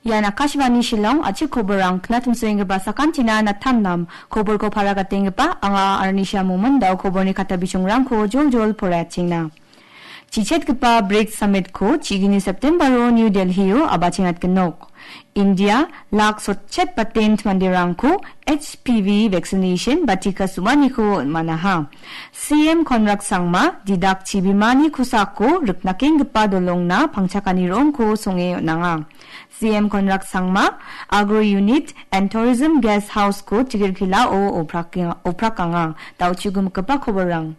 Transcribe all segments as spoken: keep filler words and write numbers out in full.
Ian Akashvani Shillong, a·chik koborrang knatimsoenggipa sakantina natamnam. Koborko para gatenggipa anga Arnisha Momon, da·o koborni kata bichongrangko joljol poraiatengna. Chichetgipa brics Summit-ko chi gni September-o New Delhi-o abachengatgenok. India lak sotchet patent manderangko H P V vaccination ba tika sumaniko on·manaha. C M Conrad Sangma didak chibimani kosako riknakenggipa dolongna pangchakani ro·ongko songe on·anga. C M Conrad Sangma Agro Unit and Tourism Guest House-ko Chikirkhilao oprak-, oprakanga. Da·o chigimikgipa koborrang.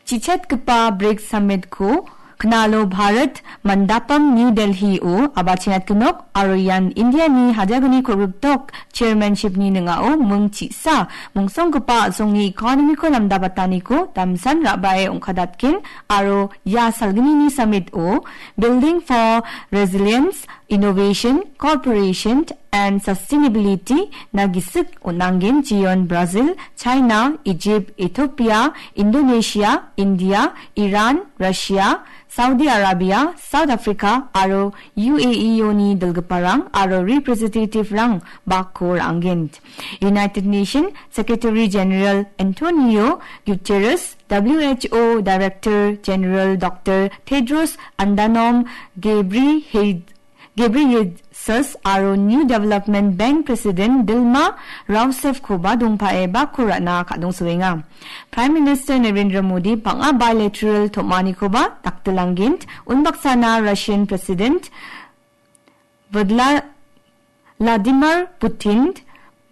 Chichetgipa brics Summit-ko Knalo Bharat Mandapam New Delhi-o abachengatgenok aro ian India-ni hajalgni kolgrikdok chairmanship-ni ning·ao ming chi·sa mongsonggipa a·songni economy-ko namdabataniko damsan ra·bae ong·kadatgen aro ia salgnini Summit-o Building for Resilience, Innovation, Cooperation and Sustainability-na gisik on·angen jeon Brazil, China, Egypt, Ethiopia, Indonesia, India, Iran, Russia, Saudi Arabia, South Africa aro U A E-oni dilgiparang aro representative-rang bakko ra·angen. United Nations Secretary General Antonio Guterres, W H O Director General Doctor Tedros Adhanom Ghebreyesus Ghebreyesus aro New Development Bank President Dilma Rousseff-koba dongpae bakko ra·na ka·dongsoenga. Prime Minister Narendra Modi bang·a bilateral tom·anikoba daktilanggent, unbaksana Russian President Vladla-, Vladimir Putin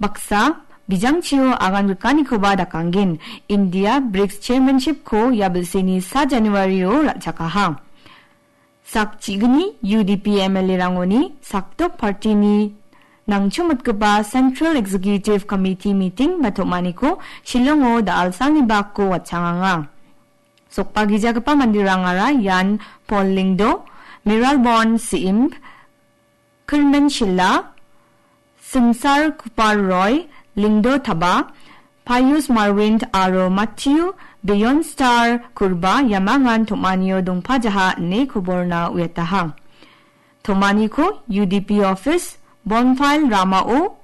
baksa bijangchio agan rikanikoba dakanggen. India brics chairmanship-ko ia bilseni sa January-o ra·chakaha. Sak chigni U D P M L A-rangoni sakdok party-ni nangchomitgipa Central Executive Committee meeting ba tom·aniko Shillongo da·alsalni bakko watchanganga. Sokbagijagipa manderangara ian Paul Lyngdoh, Mayralborn Syiem, Kyrmen Shylla, Singsar Kupar Roy, Lyngdoh Thabah, Pius Marwint aro Matthew Bjornstad Kurba iamangan tom·anio dongpajaha ine koborna uiataha. Tom·aniko U D P office, Bonfile Ramao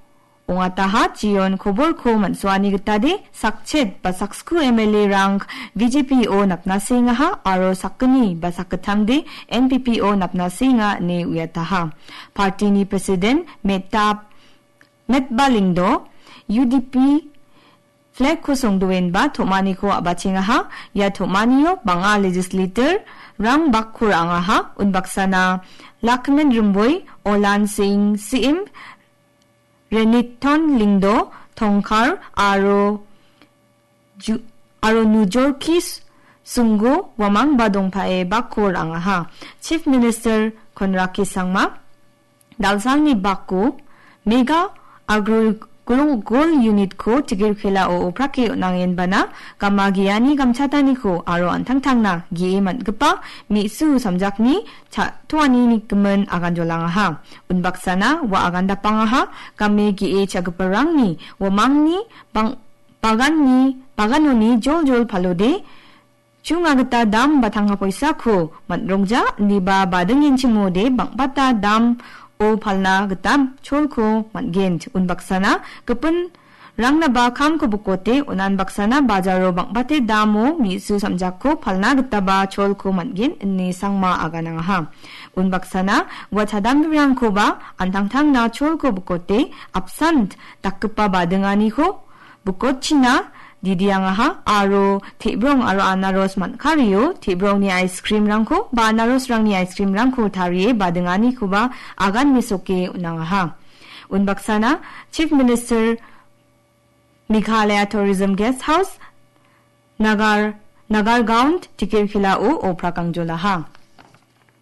ong·ataha, jeon koborko man·soani gitade sakchet ba saksku M L A-rang B J P-o napna sengaha aro sakgni ba sakgittamde N P P-o napna senga ine uiataha. Party-ni president Meta, Metba Lyngdoh U D P flag-ko songdoenba tom·aniko a·bachengaha. Ia tom·anio bang·a legislator-rang bakko ra·angaha. Unbaksana Lakmen Rymbui, Olan Singh Syiem, Reneton Lyngdoh, Tongkhar aro Ju-, aro Nujorki S-, Sungo uamangba dongpae bakko ra·angaha. Chief Minister Conrad K Sangma, da·alsalni bakko Mega Agro Gro-, Goal Unit-ko Chikirkhelao oprake on·angenbana gama ge·ani gamchataniko aro an·tangtangna ge·e man·gipa me·su samjakni cha-, toani nigimin agan jolangaha. Unbaksana ua agan dapangaha, game ge·e cha·giparangni uamangni bang-, baganni, baganoni joljol palode chunga gita dam ba tangka poisako man·rongja, indiba badingenchimode bang·bata dam-o palna gita cholko man·gen. Unbaksana gipin rangnaba kamko bokote, unan baksana bajaro bang·bate damo me·su samjakko palna gitaba cholko man·gen ine Sangma aganangaha. Unbaksana ua chadamrangkoba an·tangtangna cholko bokote apsan dakgipa badinganiko bokotchina didiangaha aro te·brong aro anaros man·kario te·brongni ice cream-rangko ba anarosrangni ice cream-rangko tarie badinganikoba agan mesoke on·angaha. Unbaksana Chief Minister Meghalaya Tourism Guest House, Nagar, Nagargaon Chikirkhelao oprak angjolaha.